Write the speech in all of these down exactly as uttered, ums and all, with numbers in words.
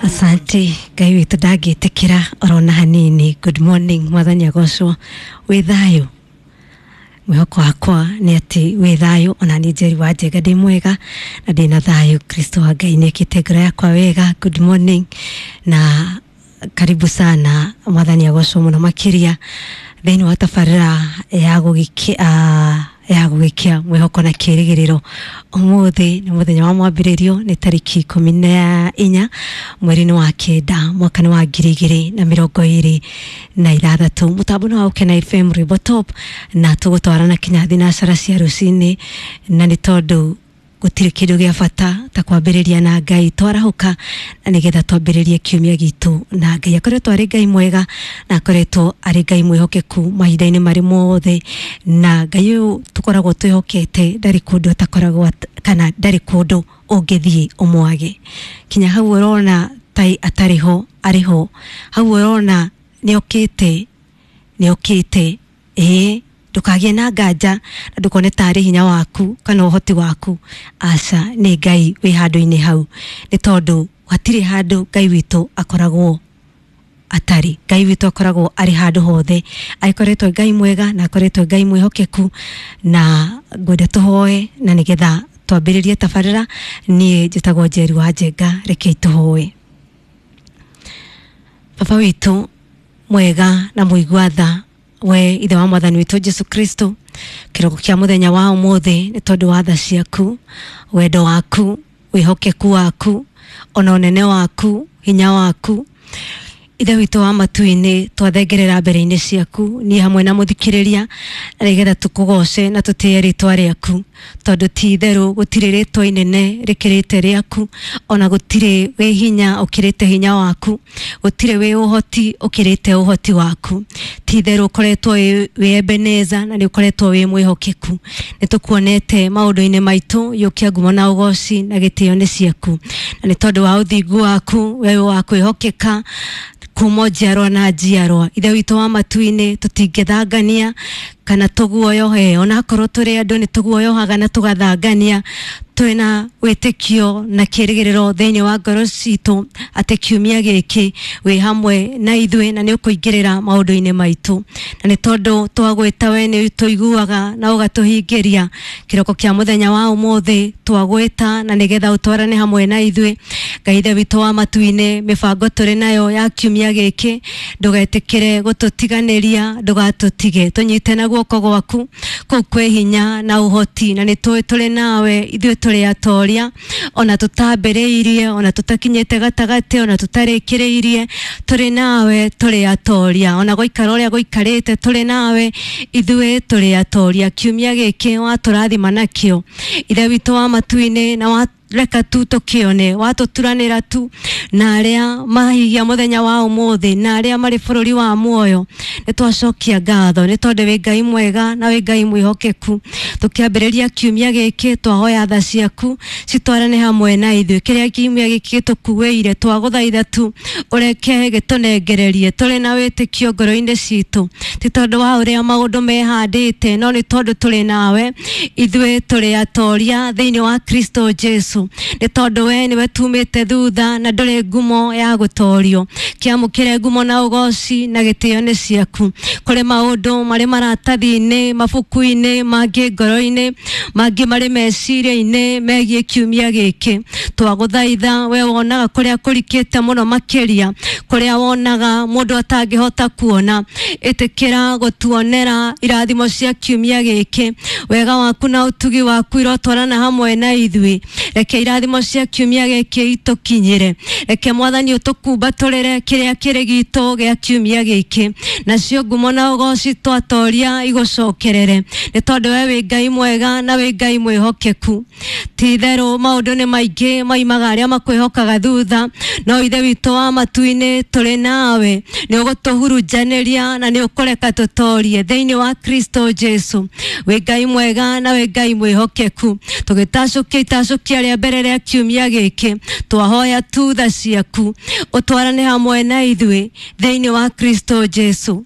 Asante Ngai witũ ndangĩtĩkĩra orona hanini. Good morning, mwathani agocwo. Wĩ thayũ? Mwĩhoko wakwa nĩ atĩ wĩ thayũ. Ona niĩ Njeri wa Njega ndĩ mwega na ndĩna thayũ. Kristo wa Ngai nĩ ekĩte ngoro yakwa wega. Good morning na karibu sana, mwathani agocwo mũno makĩria thĩinĩ wa tabarĩra ya gũgĩkia ya gũgĩkia mwĩhoko na kĩrĩgĩrĩro. Ũmũthĩ nĩ mũthenya wa mwambĩrĩrio, nĩ tarĩki ikũmi na inya mweri-inĩ wa kenda mwaka-inĩ wa ngiri igĩrĩ na mĩrongo ĩrĩ na ithathatũ. Mũtambo nĩ wa Ũkena F M Rwĩmbo Top, na tũgũtwarana kinya thinacara cia rũcinĩ, na nĩ tondũ gũtirĩ kĩndũ gĩa bata ta kwambĩrĩria na Ngai. Twarahũka na nĩgetha twambĩrĩrie kiumia gitũ na Ngai. Akoretwo arĩ Ngai mwega na akoretwo arĩ Ngai mwĩhokeku mahinda-inĩ marĩ mothe, na Ngai ũyũ tũkoragwo twĩhokete ndarĩ kũndũ atakoragwo kana ndarĩ kũndũ ũngĩthiĩ ũmwage. Kinya hau ũrona tai atarĩ ho, arĩ ho. Hau ũrona nĩokĩte, nĩokĩte. Ĩĩ, ndũkagĩe na nganja na ndũkone tarĩ hinya waku kana ũhoti waku. Aca, nĩ Ngai wĩ handũ-inĩ hau, nĩ tondũ hatirĩ handũ Ngai witũ akoragwo atarĩ. Ngai witũ akoragwo arĩ handũ hothe. Akoretwo Ngai mwega na akoretwo Ngai mwĩhokeku, na ngwenda tũhoe na nĩgetha twambĩrĩrie tabarĩra. Niĩ njĩtagwo Njeri wa Njenga, rekei tũhoe. Baba witũ mwega na mũigua tha, we ithe wa mwathani witũ Jesu Kristo, kĩroko kĩa mũthenya wa ũmũthĩ nĩ tondũ wa tha ciaku, wendo waku, wĩhokeku waku, ona ũnene waku, hinya waku. Ithe witũ wa matu-inĩ, twathengerera mbere-inĩ ciaku niĩ hamwe na mũthikĩrĩria, na nĩgetha tũkũgoce na tũtĩe rĩtwa rĩaku, tondũ ti itherũ gũtirĩ rĩtwa inene rĩkĩrĩte rĩaku, ona gũtirĩ wĩ hinya ũkĩrĩte hinya waku, gũtirĩ wĩ ũhoti ũkĩrĩte ũhoti waku. Ti itherũ ũkoretwo wĩ Ebeneza na nĩ ũkoretwo wĩ mwĩhokeku. Nĩ tũkuonete maũndũ-inĩ maitũ, yũkia ngumo na ũgoci na gĩtĩo nĩ ciaku, na nĩ tondũ wa ũthingu waku we wa kwĩhokeka kuma njiarwa na njiarwa. Ithe witũ wa matu-inĩ, tũtingĩthangania kana tũguoyohe, onakorwo tũrĩ andũ nĩ tũguoyohaga na tũgathangania. Twĩna wĩtĩkio na kĩrĩgĩrĩro thĩinĩ wa ngoro citũ atĩ kiumia gĩkĩ wĩ hamwe na ithuĩ na nĩ ũkũingĩrĩra maũndũ-inĩ maitũ, na nĩ tondũ twagwĩta we nĩ tũiguaga na ũgatũhingĩria. Kĩroko kĩa mũthenya wa ũmũthĩ twagwĩta na nĩgetha ũtwarane hamwe na ithuĩ. Ngai ithe witũ wa matu-inĩ, mĩbango tũrĩ nayo ya kiumia gĩkĩ ndũgetĩkĩre gũtũtiganĩria, ndũgatũtige, tũnyite na guoko gwaku kũu kwĩ hinya na ũhoti, na nĩ tũĩ tũrĩ nawe ithuĩ tũrĩ atoria, ona tũtambĩrĩirie, ona tũtakinyĩte gatagatĩ, ona tũtarĩkĩrĩirie, tũrĩ nawe tũrĩ atoria, ona gũikara ũrĩa gũikarĩte tũrĩ nawe ithuĩ tũrĩ atoria. Kiumia gĩkĩ watũrathima nakĩo Ithe witũ wa matu-inĩ, na wa reka tu tũkĩone, watũturanĩra tu na arĩa mahigia mũthenya wa ũmũthĩ na arĩa marĩ bũrũri wa muoyo. Nĩ twacokia ngatho nĩ tondũ wĩ Ngai mwega na wĩ Ngai mwĩhokeku. Tũkĩambĩrĩria kiumia gĩkĩ twahoya tha ciaku citwarane hamwe na ithuĩ. Kĩrĩa kiumia gĩkĩ gĩtũkuĩire twagũthaitha tu ũreke gĩtũnengererie tũrĩ na wĩtĩkio ngoro-inĩ citũ, ti tondũ wa ũrĩa maũndũ mehandĩte, no nĩ tondũ tũrĩ nawe ithuĩ tũrĩ atoria thĩinĩ wa Kristo Jesu. Nĩ tondũ we nĩwe tumĩte thutha na ndũrĩ ngumo ya gũtorio. Kĩamũkĩre ngumo na ũgoci na gĩtĩo nĩ ciaku. Kũrĩ maũndũ marĩ maratathi-inĩ, mabuku-inĩ, mangĩ ngoro-inĩ, mangĩ marĩ meciria-inĩ megiĩ kiumia gĩkĩ. Twagũthaitha we wonaga kũrĩa kũrikĩte mũno makĩria, kũrĩa wonaga mũndũ atangĩhota kuona, ĩtĩkĩra gũtuonera irathimo cia kiumia gĩkĩ. Wega waku na ũtugi waku irotwarana hamwe na ithuĩ. Reke irathimo cia kiumia gĩkĩ itũkinyĩre. Reke mwathani ũtũkumbatũrĩre kĩrĩa kĩrĩ gitũ gĩa kiumia gĩkĩ, nacio ngumo na ũgoci twatoria igũcokerere, nĩ tondũ we wĩ Ngai mwega na wĩ Ngai mwĩhokeku. Ti itherũ maũndũ nĩ maingĩ maimaga arĩa makwĩhokaga thutha, no Ithe witũ wa matu-inĩ tũrĩ nawe, nĩ ũgũtũhurunjanĩria na nĩ ũkũreka tũtorie thĩinĩ wa Kristo Jesu. Wĩ Ngai mwega na wĩ Ngai mwĩhokeku. Tũgĩtacũkia itacũkia rĩa mbere rĩa kiumia gĩkĩ, twahoya tu tha ciaku ũtwarane hamwe na ithuĩ thĩinĩ wa Kristo Jesu.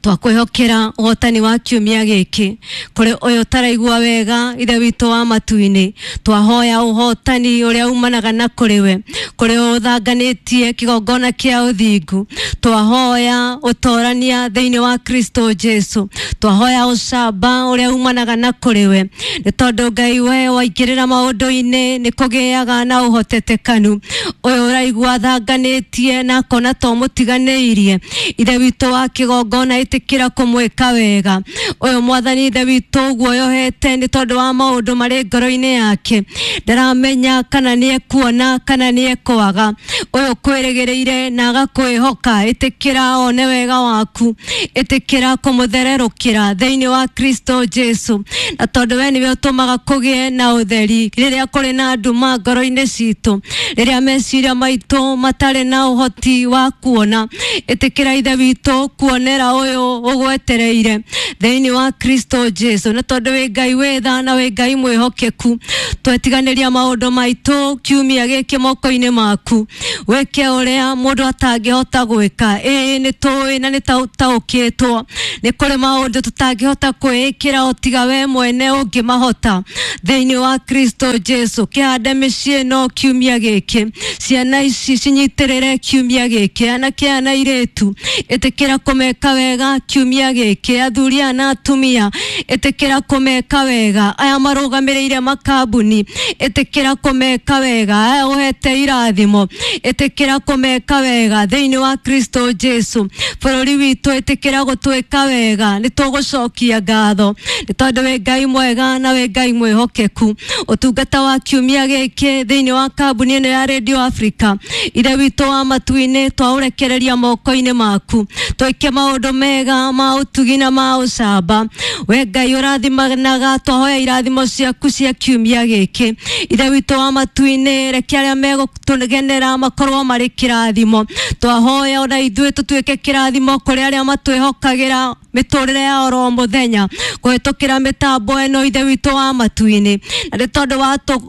Twakwĩhokera ũhotani wa kiumia gĩkĩ kũrĩ ũyũ ũtaraigua wega ithe witũ wa matu-inĩ, twahoya ũhotani ũrĩa umanaga na kũrĩ we. Kũrĩ ũyũ ũthanganĩtie kĩgongona kĩa ũthingu, twahoya ũtorania thĩinĩ wa Kristo Jesu, twahoya ũcamba ũrĩa umanaga na kũrĩ we, nĩ tondũ Ngai we waingĩrĩra maũndũ-inĩ nĩ kũgĩaga na ũhotetekanu. Ũyũ ũraigua athanganĩtie na akona to mũtiganĩirie, ithe witũ wa kĩgongona ĩtĩkĩra kũmwĩka wega. Ũyũ mwathani ithe witũ ũguoyohete nĩ tondũ wa maũndũ marĩ ngoro-inĩ yake, ndaramenya kana nĩ ekuona kana nĩ ekwaga. Ũyũ kwĩrĩgĩrĩire na agakwĩhoka, ĩtĩkĩra one wega waku, ĩtĩkĩra kũmũthererũkĩra thĩinĩ wa Kristo Jesu, na tondũ we nĩwe ũtũmaga kũgĩe na ũtheri rĩrĩa kũrĩ na nduma ngoro-inĩ citũ, rĩrĩa meciria maitũ matarĩ na ũhoti wa kuona, ĩtĩkĩra ithe witũ kuonera ũyũ ũgwetereire thĩinĩ wa Kristo Jesu, na tondũ wĩ Ngai wĩ tha na wĩ Ngai mwĩhokeku, twetiganĩria maũndũ maitũ kiumia gĩkĩ moko-inĩ maku, wĩke ũrĩa mũndũ atangĩhota gwĩka. Ĩĩ nĩ tũĩ na nĩ taũkĩtwo nĩ kũrĩ maũndũ tũtangĩhota kwĩĩkĩra o tiga we mwene ũngĩmahota thĩinĩ wa Kristo Jesu. Kĩhande mĩciĩ ĩno kiumia gĩkĩ, ciana ici cinyitĩrĩre kiumia gĩkĩ, anake aya na airĩtu ĩtĩkĩra kũmeka wega kiumia gĩkĩ, athuri aya na atumia ĩtĩkĩra kũmeka wega, aya marũgamĩrĩire makambuni ĩtĩkĩra kũmeka wega, aya ũhete irathimo ĩtĩkĩra kũmeka wega thĩinĩ wa Kristo Jesu. Bũrũri witũ ĩtĩkĩra gũtwĩka wega, nĩ tũgũcokia ngatho nĩ tondũ wĩ Ngai mwega na wĩ Ngai mwĩhokeku. Ũtungata wa kiumia gĩkĩ thĩinĩ wa kambuni ĩno ya Radio Africa, ithe witũ wa matu-inĩ, twaũrekereria moko-inĩ maku, twĩke maũndũ mega ma ũtugi na ma ũcamba. We Ngai ũrathimanaga, twahoya irathimo ciaku cia kiumia gĩkĩ. Ithe witũ wa matu-inĩ, reke arĩa megũtũgenera makorwo marĩ kĩrathimo. Twahoya ona ithuĩ tũtuĩke kĩrathimo kũrĩ arĩa matwĩhokagĩra mĩtũrĩre ya oro mũthenya kũhĩtũkĩra mĩtambo ĩno, ithe witũ wa matu-inĩ, na nĩ tondũ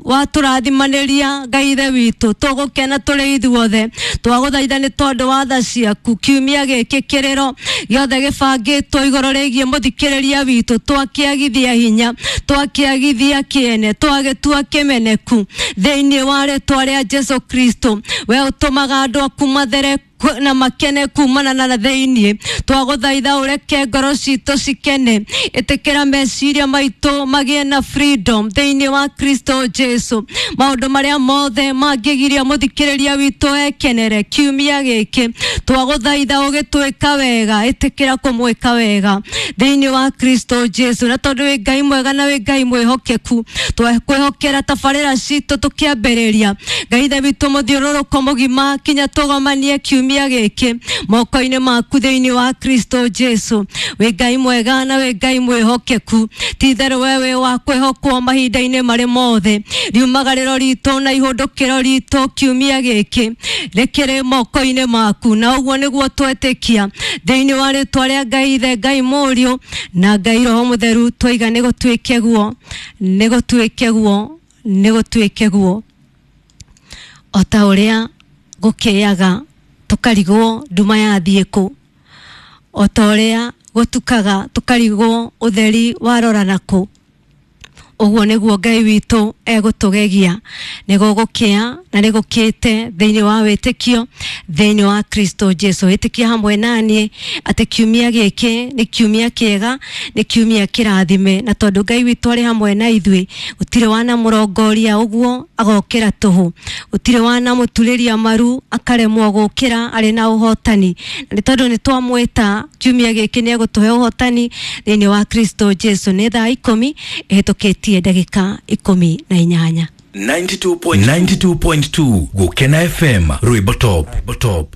watũrathimanĩria Ngai ithe witũ, tũgũkena tũrĩ ithuothe. Twagũthaitha nĩ tondũ wa tha ciaku, kiumia gĩkĩ kĩrĩro gĩothe gĩbangĩtwo igũrũ rĩgiĩ mũthikĩrĩria witũ, twakĩagithia hinya, twakĩagithia kĩene, twagĩtua kĩmeneku thĩinĩ wa rĩtwa rĩa Jesu Kristo. We ũtũmaga andũ aku mathere na makene kumana na thĩinĩ, twagũthaitha ũreke ngoro citũ cikene, ĩtĩkĩra meciria maitũ magĩe na freedom thĩinĩ wa Kristo Jesu. Maũndũ marĩa mothe mangĩgiria mũthikĩrĩria witũ ekenere kiumia gĩkĩ, twagũthaitha ũgĩtwĩka wega, ĩtĩkĩra kũmwĩka wega thĩinĩ wa Kristo Jesu. Na tondũ wĩ Ngai mwega na wĩ Ngai mwĩhokeku, twakwĩhokera tabarĩra citũ tũkĩambĩrĩria, Ngai ithe witũ mũthiũrũrũko mũgima kinya tũgomanie kiumia gĩkĩ moko-inĩ maku thĩinĩ wa Kristo Jesu. Wĩ Ngai mwega na wĩ Ngai mwĩhokeku, ti itherũ we wĩ wa kwĩhokwo mahinda-inĩ marĩ mothe. Riumagarĩro ritũ na ihũndũkĩro ritũ kiumia gĩkĩ rĩkĩrĩ moko-inĩ maku, na ũguo nĩguo twetĩkia thĩinĩ wa rĩtwa rĩa Ngai Ithe, Ngai Mũriũ na Ngai Roho Mũtheru. Twaiga nĩ gũtuĩke guo, nĩ gũtuĩke guo, nĩ gũtuĩke guo, o ta ũrĩa gũkĩaga tũkarigwo nduma yathiĩ kũ, o ta ũrĩa gũtukaga tũkarigwo ũtheri warora nakũ, ũguo nĩguo Ngai witũ egũtũgegia. Nĩ gũgũkĩa na nĩ gũkĩte thĩinĩ wa wĩtĩkio thĩinĩ wa Kristo Jesu. Wĩtĩkia hamwe naniĩ atĩ kiumia gĩkĩ nĩ kiumia kĩega, nĩ kiumia kĩrathime, na tondũ Ngai witũ arĩ hamwe na ithuĩ, gũtirĩ wanamũrongoria ũguo agokĩra tũhũ, gũtirĩ wanamũturĩria maru akaremwo gũkĩra arĩ na ũhotani. Na nĩ tondũ nĩ twamwĩta kiumia gĩkĩ nĩ egũtũhe ũhotani thĩinĩ wa Kristo Jesu. Nĩ thaa ikũmi ĩhĩtũkĩtie ndagĩka ikũmi na inyanya. ninety-two point two Gukena F M, Rwimbo Top, Top.